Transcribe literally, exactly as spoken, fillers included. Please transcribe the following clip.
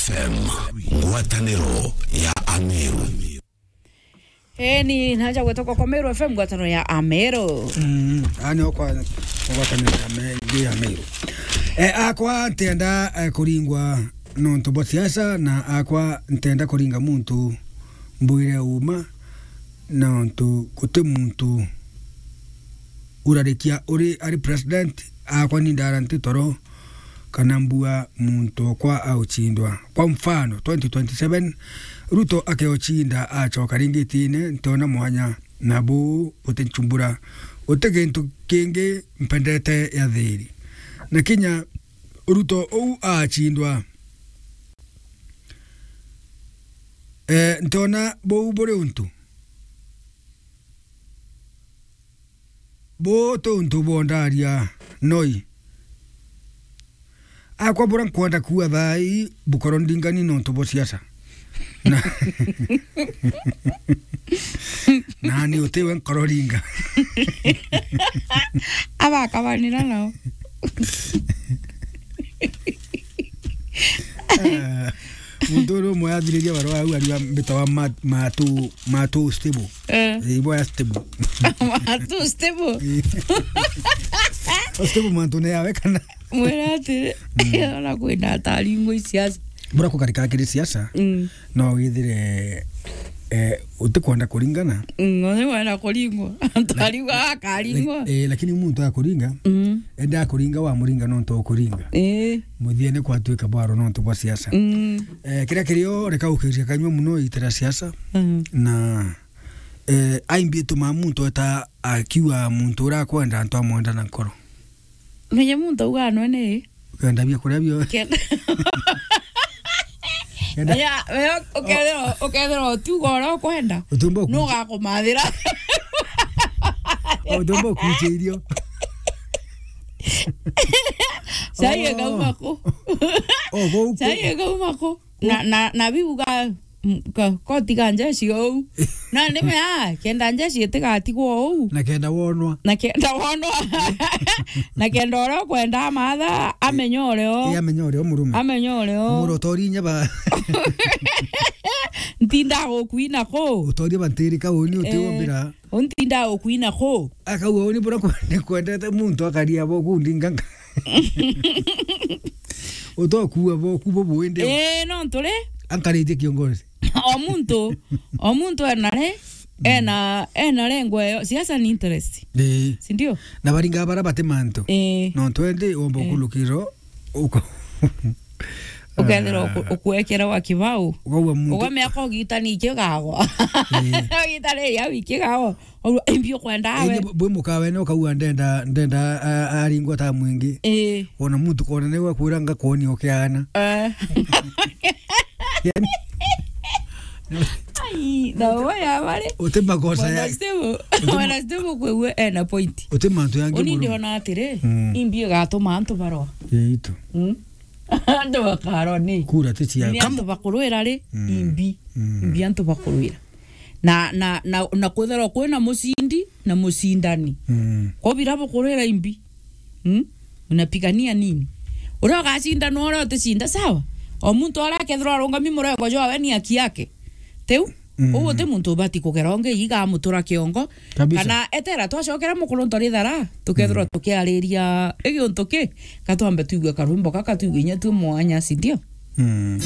F M, ngwataniro ya Ameru. Eni, naja gwetwa kwa Meru F M, ngwataniro ya Ameru. Mm, ani okwa, ngwataniro ya Me-, ndi ya Meru. Eh, akwa ntenda, eh, kuringwa nontu bwa siasa, na akwa ntenda kuringa muntu mbwire uma, nontu guti muntu urarikia uri ari president, akwa ni ndara nti toro, kana mbua muntu okwa auchindwa. Kwa mfano, twenty twenty-seven, Ruto akeochinda acoka ringi itine, ntiona mwanya, na buu butinchumbura. Guti gintu kingi mpendete ya thiri. Na kinya Ruto uu aachindwa, eh, ntiona buu buri untu. Buu ti untu bwa ndaria noi. Akwa bura nkwenda kuuga thaa ii bukoro ndingani nontu bwa siasa. Na, na ni utiwe nkoro ringa. Abakabanira nao. Eh, muntu uri umwe athiriria barua au ariwa mbitawa ma-, matu, matu stable. Eh. Eh, ibo ya stable. Matu stable. Eh. O stable mantu ne yawe kana? Mwira atiri, mm, ona kwina atari ingwe siasa. Bura kukarika akiri siasa, mm, no withire, eh, utikwenda kuringana. Mm, no wenda kuringwa. Atari wa akaringwa. Lak-, eh, lakini muntu akuringa, mm, enda akuringa wa muringa nontu ukuringa. Eh. Muthia ni kwatuika bwaro nontu bwa siasa. Mm. Eh, kiria kirio reka ukiria kanywa muno itira siasa. Mm. Na, eh, aimbi tuma muntu eta akiwa muntu ura akwenda antu amwenda na nkoro. Menye muntu auga anwe ni. Ukenda bia kuria bio. Kenda. Kenda. Ya, we ukethirwa, ukethirwa utiuga uria ukwenda. Utumba kuche-, nugakumathira. Utumba kuche irio. Cai, oh, ikauma ku. Oh, gou ku. Cai ikauma ku. Na, na, na biuga, mm, ka, kotiga njeshi ou. Na nime, ah, kenda njeshi itigatigwo ou. Na kenda wonwa. Na kenda wonwa. Na kenda uria ukwenda amatha, amenye urio. Ii, amenye urio murume. Amenye urio. Muro tori inya ba. Ntinda gukwina ku. Utorie bantirika uni utiwombira. Eh, untinda gukwina ku. Akauga uni bura kwe-, ni kwendete muntu akaria bo ku ndinganga. Utokuua boku bubwende. Eh, no nturi. Ankaritie kiongozi. O muntu, o muntu ena ri, ena, ena rengo eyo. Siasa ni interest. Eh. Si ndio? Na baringa bara bate mantu. Eh. No twende womba, eh, kulukiro, uko-, ukethira uku-, ukuekera wa kibau. Ukaua muntu. Ugamea ko gitani ikigagwa. Eh. Gitani ya ikigagwa. Oru, imbi ukwenda we. Indi bwi mukawe no kauga ndenda, ndenda, a-, aringwa ta mwingi. Ii. Wona muntu kona niwe akwira ngakwoni ukiana. Eh. Yani, ai, na we ya bari. Uti makosa ya. Bwana Steve, uti ma-, Bwana Steve kwewe ena point. Uti mantu yangi. Uni muru. Ndiona atiri, mm, imbi igatuma antu barwa. Yeitu. Mm. Antu bakarwa ni. Kura ti cia. Ni antu bakurwira ri, mm, imbi. Mm. Imbi antu bakurwira. Na, na, na, na kwithirwa kwina mucindi na mucindani. Mm. Ko bira bukurwira imbi. Mm? Unapigania nini? Uria ugacinda no uria uticinda, sawa? O muntu aria akethirwa arungami murego jwawe ni haki yake. Tiu? Mm. Uu uti muntu ubati kugera ungi iga amutura kiongo. Kabisa. Kana etera twacokera mukuru ntorithara, tukethirwa, mm, tukiariria igiuntu ki, ka twambe twigue karwimbo gaka twigue inya twi mwanya, si ndio? Mm.